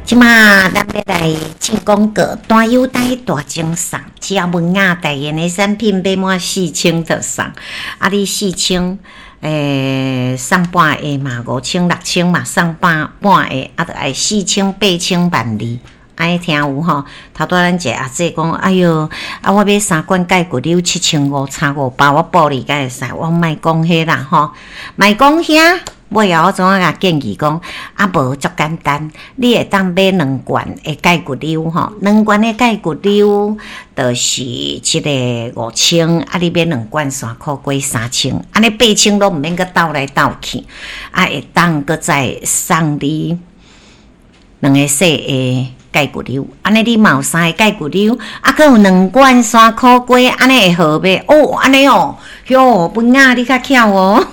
這馬咱欲來進廣告，大優待大贈送，只要文雅代言的產品買滿四千就送。啊，你四千，送半個嘛，50006000嘛，送半半個，啊，著愛四千八千萬二。按呢聽有吼？頭拄仔咱一個阿姐講，哎喲，啊我買三罐鈣骨溜7500差五百，我報你敢會使？我莫講彼啦吼，莫講遐。尾後我怎啊共建議講，啊無足簡單，你會當買兩罐的鈣骨溜吼，兩罐的鈣骨溜就是這个五千，啊你買兩罐山苦瓜三千，按呢八千攏毋免閣鬥來鬥去，啊會當閣再送你兩个細的鈣骨溜，按呢你嘛有三个鈣骨溜，啊閣有兩罐山苦瓜，按呢會好袂？哦，按呢哦，喲，文雅你較巧哦。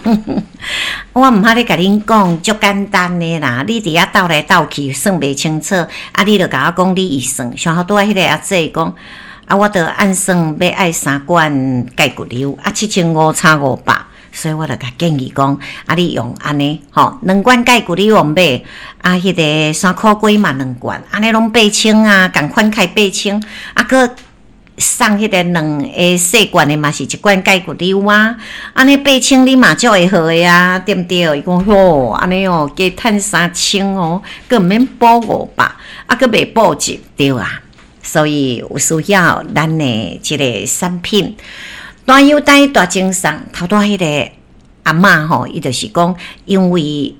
我毋捌咧共恁講，足簡單的啦。你佇遐鬥來鬥去，算袂清楚，啊，你就共我講你會算。像頭拄仔彼个阿姐講，啊，我著按算欲愛三罐鈣骨溜，啊，7500差五百，所以我就共建議講，啊，你用按呢，吼，兩罐鈣骨溜用買，啊，彼个山苦瓜嘛兩罐，按呢攏八千啊，仝款開八千，啊，閣送彼个兩个細罐的嘛是一罐鈣骨溜啊，按呢八千你嘛足會好的啊，對毋對？伊講吼，按呢哦，加趁三千哦，閣毋免補五百，啊，閣袂補一對啊。所以有需要咱的這个產品，大優待大贈送。頭拄仔彼个阿嬤吼，伊就是講，因為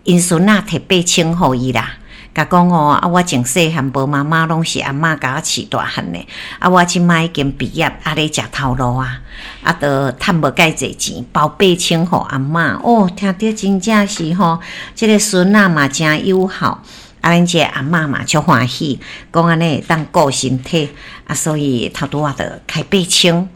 𪜶孫仔提八千予伊啦。共講哦，啊，我從細漢無媽媽，攏是阿嬤共我飼大漢的。啊，我這馬已經畢業，啊咧食頭路啊，啊，都趁無蓋濟錢，包八千予阿嬤。哦，聽著真正是吼，這个孫仔嘛誠友好，啊，咱這个阿嬤嘛足歡喜，講按呢會當顧身體，啊，所以頭拄仔就開八千，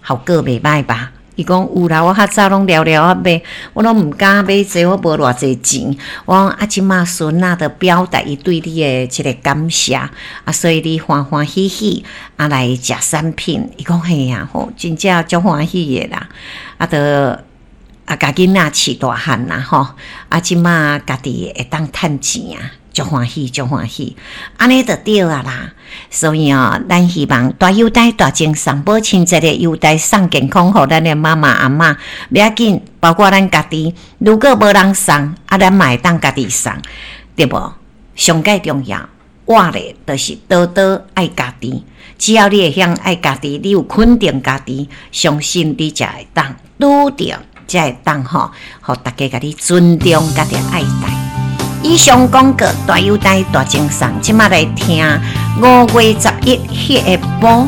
效果袂䆀吧？伊講有啦，我較早攏了了仔買，我攏毋敢買這，我無偌濟錢。我講啊，這馬孫仔著表達伊對你的這个感謝，啊，所以你歡歡喜喜啊來食產品。伊講嘿啊，吼，真正足歡喜的啦。啊，著啊，共囡仔飼大漢啦，吼，啊，這馬家己會當趁錢啊。足歡喜，足歡喜，按呢就對啊啦。所以哦，咱希望大優待大贈送，母親節的優待送健康予咱的媽媽阿嬤，袂要緊，包括咱家己。如果無人送，啊，咱嘛會當家己送，對無？上蓋重要，活咧就是多多愛家己。只要你會曉愛家己，你有肯定家己，相信你才會當拄著，才會當吼，予大家共你尊重，共你愛戴。以上廣告大優待大贈送，這馬來聽5月11彼个晡。